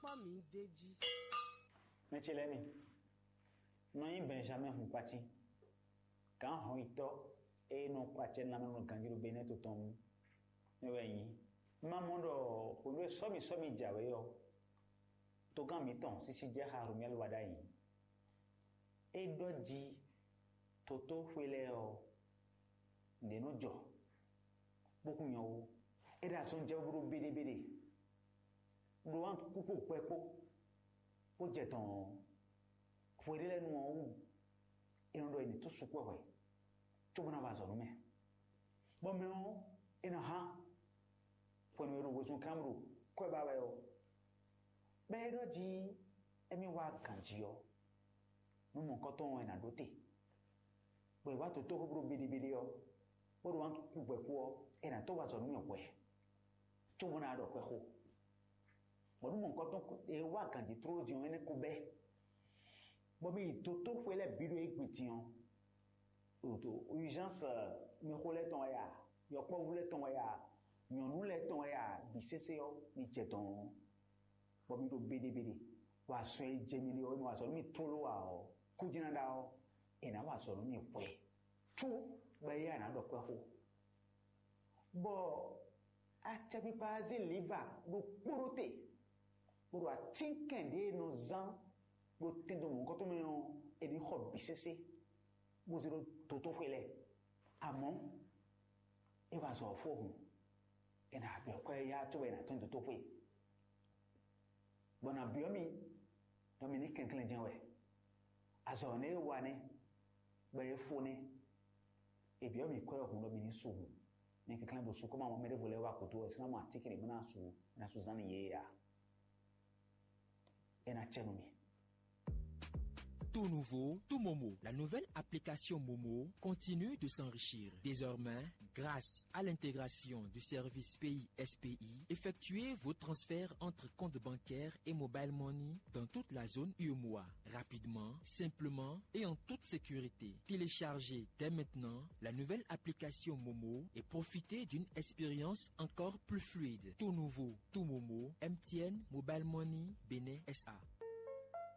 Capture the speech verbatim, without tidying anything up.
Ɔ́ mǐ d'é jí. Mɛ ce lɛ́ɛ mi, nɔ nyí Benjamin Hunkwati, gǎn hɔnyitɔ́ e nɔ kpa acɛ nú amlɔ ganjí ɖo Benɛ́ɛ to tɔn mɛ wɛ nyí. Ma mɔ ɖɔ hwenu e sɔ́mi sɔ́mi jɛ awě ɔ́, togán mǐtɔn sísí jɛ xa Romuɛ́li wa ɖ'ayǐ. É ɖɔ jí tótóxwe lɛ́ɛ ɔ́, nǔɖé nɔ jɔ, bó kún nyɔ ó. É ɖo azɔn jɛ bó ɖó béɖébéɖé, ɖó wǎn kúkú kpɛkpó, bó jɛ dɔn hweɖé lɛ́ɛ nu ɔ́ wú. É nɔ ɖɔ è nǐ tó sukpɔ́ hwɛ, cóbó ná wa azɔ̌ nú mɛ. Bɔ mɛ ɔ́, é nɔ hán hwenu e ɖo wezun kán ɖo kwɛ́ ba wɛ ɔ́, bɔ é ɖɔ jí émí wá ganjí ɔ́, nú mɔ̌hunkɔtɔn ɔ́, è nǎ ɖó te. Bɔ è wá dǒ tóxó bó ɖo biɖibiɖi ɔ́, bó ɖo wǎn kú gbɛ̌ kú ɔ́, è nǎ tó wá azɔ̌ nú mì hwɛ̌, cóbó ná ɖɔ xwɛ xo. Bɔ nú mɔ̌hunkɔtɔn e wá ganjí tlóló din ɔ́, énɛ́ ko bɛ́, bɔ mì yi dǒ tó xwe lɛ́ɛ bǐ ɖo égbé din ɔ́, ɖo urgence mɛxó lɛ́ɛ tɔn wɛ a, yɔkpɔ́vú lɛ́ɛ tɔn wɛ a, nyɔ̌nu lɛ́ɛ tɔn wɛ a, bǐ sésé ɔ́, mi jɛ dɔ̌n ɔ́, bɔ mi ɖo beɖebeɖe, bɔ azɔn e jɛ mi ɖe ɔ́, mi wa azɔ̌ nú mi tlóló ǎ ɔ́, kú jɛ́n ná ɖa ɔ́, è nǎ wa azɔ̌ nú mi hwɛ, có bɔ éyɛ́ ná ɖɔ kwɛ́ xó. Bɔ acɛkpikpa ɔ́ zé lǐva ɖokpó ɖó te, bó ɖo atínkɛn ɖě e nɔ zán ɖo tɛndo mɔ̌hunkɔtɔn mɛ ɔ́, è nǐ xɔ bǐ sésé, bó zé ɖó dotóxwé lɛ́ɛ. Amɔ̌, é wa azɔ̌ ɔ́ fó hǔn, è nǎ byɔ́ kwɛ́ yá cóbɔ è nǎ tɔ́n dotóxwé, bɔ è nǎ byɔ́ mì ɖɔ mi ní kɛnklɛ́n jɛ́n wɛ. Azɔ̌ nɛ́ e wa nɛ́, bɔ é fó nɛ́. È byɔ́ mì kwɛ́ ɔ́ hǔn ɖɔ mi ní su hǔn. Mi kɛnklɛ́n bo su, kɔ́ ma mɔ mɛ ɖěvo lɛ́ɛ wá kútú ɔ́, è sɔ́ ná mɔ atínkɛn ɖě bó ná su, bó ná su zán nú yě ǎ. É ná cɛ nú mi. Tout nouveau, tout Momo. La nouvelle application Momo continue de s'enrichir. Désormais, grâce à l'intégration du service Pays S P I, effectuez vos transferts entre comptes bancaires et mobile money dans toute la zone U M O A, rapidement, simplement et en toute sécurité. Téléchargez dès maintenant la nouvelle application Momo et profitez d'une expérience encore plus fluide. Tout nouveau, tout Momo, M T N, Mobile Money, Bénin S A.